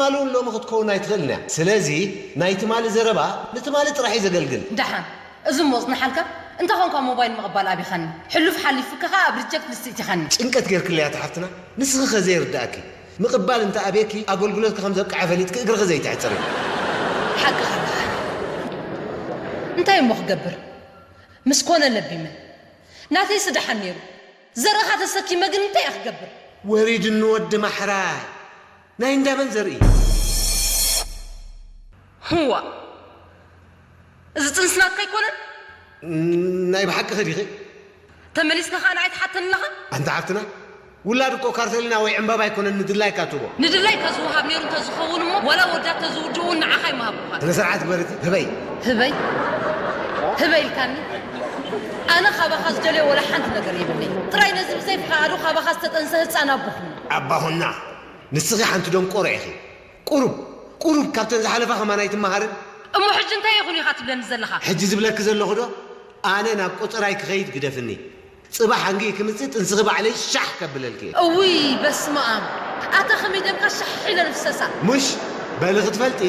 ትማሊ እውን ሎሚ ክትከውን ኣይትኽእልን እያ። ስለዚ ናይ ትማሊ ዘረባ ንትማሊ ጥራሕ እዩ ዘገልግል። ደሓን፣ እዚ እሞ ጽንሓልካ። እንተ ኾንካ ሞባይል ምቕባል ኣቢኻኒ። ሕሉፍ ሓሊፉካ ኸኣ ኣብ ሪጀክት ሊስት እቲኻኒ። ጭንቀት ጌርክለይ ኣታ ሓፍትና፣ ንስኺ ኸ ዘይርድኣኪ? ምቕባል እንተ ኣብየኪ ኣገልግሎትኪ ከም ዘብቅዐ ፈሊጥኪ እግርኺ ዘይትሕጽሪ። ሓቅኻ ኣለኻ። እንታይ እሞ ክገብር? ምስ ኮነ ለቢመ። ናተይሲ ደሓን ነይሩ። ዘርእኻ ተሰኪመ ግን እንታይ እየ ክገብር? ወሪድኒ ወዲ ማሕራይ። ናይ እንዳመን ዘርኢ? ህዋ፣ እዚ ጥንሲ ናትካ ኣይኮነን? ናይ ብሓቂ ኸዲኺ? ተመሊስካ ኸኣ ንዓይ ትሓተኒ ኣለኻ? ኣንታ ሓፍትና፣ ውላድ እኮ ካርተሊና ወይ ዕምባባ ኣይኮነን ንድላይካ ትቦ። ንድላይካ ዝወሃብ ነይሩ እንተዝኸውን እሞ፣ ዋላ ወዳት ተዝውድኡ እውን ንዓኻ ኣይምሃብኩኻን። ስነ ስርዓት ግበሪ እቲ፣ ህበይ። ህበይ? ህበይ ኢልካኒ? ኣነ ካባኻ ዝደልዮ ወላ ሓንቲ ነገር የብለይ። ጥራይ ነዚ ብዘይ ፍቓዱ ካባኻ ዝተጠንሰ ህፃን ኣቦኹና። ኣባኹና፣ ንስኺ ሓንቲ ደንቆሮ ኢኺ። ቁሩብ፣ ቁሩብ ካብተን ዝሓለፋ ከማን ኣይትመሃርን? እሞ ሕጂ እንታይ ይኹን ኢኻ ትብለኒ ዘለኻ? ሕጂ ዝብለኪ ዘለኹ ዶ፣ ኣነ ናብ ቆጸራይ ክኸይድ ግደፍኒ። ጽባሕ ኣንጊ ክምጽእ ጥንስኺ ባዕለይ ሻሕ ከብለልኪ እየ። እውይ፣ በስመ ኣብ። ኣታ ከመይ ደምካ ሻሕ ኢለን ፍሰሳ። ሙሽ፣ በሊ ክትፈልጢ፣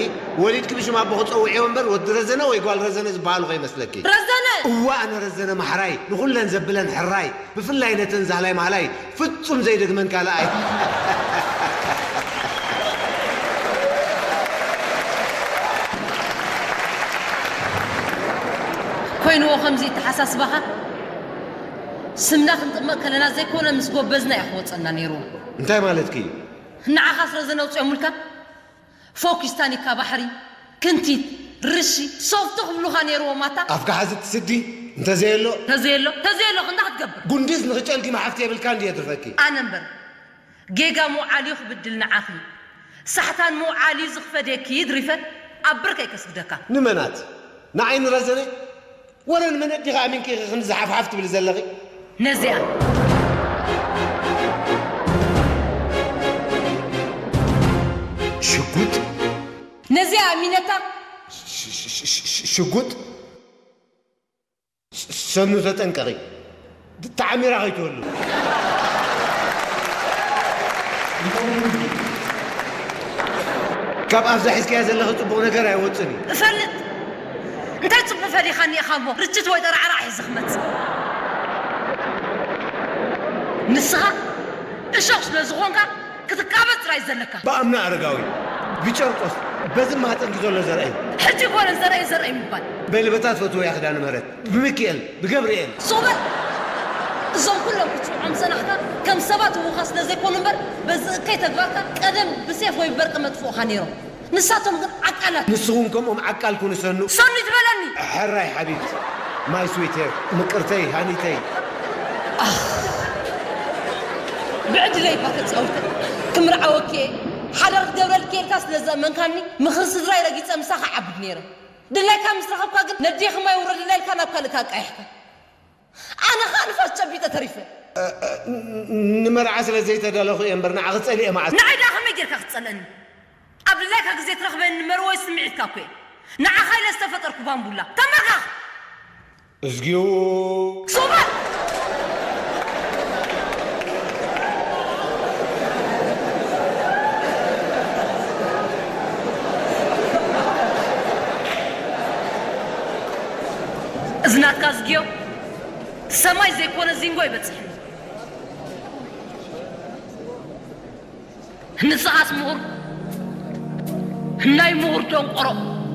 ወሊድኪ ብሽም ኣቦኺ ጸውዕዮ እምበር፣ ወዲ ረዘነ ወይ ጓል ረዘነ ዝበሃሉ ከይመስለኪ። ረዘነ! እወ፣ ኣነ ረዘነ ማሕራይ፣ ንኹለን ዘብለን ሕራይ፣ ብፍላይ ነተን ዛህላይ ማህላይ ፍጹም ዘይደግመን ካልኣይ። ኮይንዎ ከምዚ ይተሓሳስባኻ? ስምና ክንጥመቕ ከለና ዘይኮነ ምስ ጎበዝና እዩ ክወጸና ነይሩ። እንታይ ማለትኪ እዩ? ንዓኻ ስለ ዘነውጽኦምልካ ፎኪስ ታኒካ ባሕሪ፣ ክንቲት፣ ርሺ፣ ሶፍቲ ክብሉኻ ነይርዎም ኣታ። ኣፍካ ሓዚ ትስዲ፣ እንተዘየሎ። ተዘየሎ፣ ተዘየሎ ክንዳ ክትገብር። ጉንዲስ ንኽጨልጊ መሓፍቲ የብልካ እንዲ የትርፈኪ። ኣነ እምበር፣ ጌጋ ምውዓልዩ ክብድል ንዓኺ። ሳሕታን ምውዓልዩ ዝኽፈደኪ ድሪፈ ኣብ ብርከይ ከስግደካ። ንመናት? ንዓይ ንረዘነ? ወረ ንመን ኣዲኺ ኣሚንኪ ኢኺ ክንዲ ዝሓፍሓፍ ትብሊ ዘለኺ? ነዚኣ። ሽጉጥ? ነዚኣ ኣሚነታ። ሽ-፣ ሽ-፣ ሽ-፣ ሽ-፣ ሽጉጥ? ሽ-፣ ሰኑ ተጠንቀቒ። ተዓሚራ ከይትወሉ። ካብ ኣፍዛ ሒዝካያ ዘለኺ ጽቡቕ ነገር ኣይወጽን እዩ። እፈልጥ። እንታይ ጽቡቕ ፈሊኻኒ ኢኻ እሞ ርችት ወይ ጠራዕራዕ ሒዘ ክመጽእ? ንስኻ እሾኽ ስለ ዝኾንካ ክትቃበጽ ጥራይ ዘለካ። ብኣምና ኣረጋዊ፣ ብጨርቆስ፣ በዚ ማህፀንኪ ዘሎ ዘርአይ። ሕጂ ኮነ ዘርአይ ዘርአይ ምባል። በሊ በታ ትፈትውያ ክዳነ ምህረት፣ ብሚኪኤል፣ ብገብርኤል። ሱቕ በል! እዞም ኩሎም ክትስምዖም ዝጸናሕካ ከም ሰባት ህውኻ ስለ ዘይኮኑ እምበር፣ በዚ እከይ ተግባርካ ቀደም ብሴፍ ወይ ብበርቂ መጥፍኡኻ ነይሮም። ንሳቶም ግን ዓቃላት። ንስኹም ከምኦም ዓቃል ኩኑ ሰኑ። ሰኑ ትበለኒ። ሕራይ ሓቢብቲ፣ ማይ ስዊት ሄር፣ ምቅርተይ፣ ሃኒተይ። ኣኽ፣ ብዕድለይ እባ ተጻዊተ። ክምርዓወኪ እየ። ሓዳር ክገብረልኪ እየ ኢልካ ስለ ዘእመንካኒ፣ ምኽሪ ስድራይ ረጊጸ ምሳኻ ዓብድ ነይረ። ድላይካ ምስ ረኸብካ ግን ነዲኺ ማይ ውረድለይ ኢልካ ናብ ካልእ ኣቃይሕካ። ኣነ ኸኣ ንፋስ ጨቢጠ ተሪፈ። እ፣ እ፣ ን-፣ ንመርዓ ስለ ዘይተዳለኹ እየ እምበር ንዓኺ ጸሊኤ መዓስ። ንዓይ ደኣ ከመይ ጌርካ ክትጸልአኒ? ኣብ ድላይካ ግዜ ትረኽበኒ መርወይ ስምዒትካ እኮ እየ። ንዓኻ ኢለ ዝተፈጠርኩ ባምቡላ። ተንበርካኽ! እዝጊኡ! ሱቕ በል! እዚ ናትካ እዝጊዮ ሰማይ ዘይኮነ ዚንጎ ይበጽሕኒ። ንስኻስ ምሁር፣ ናይ ምሁር ደንቆሮ።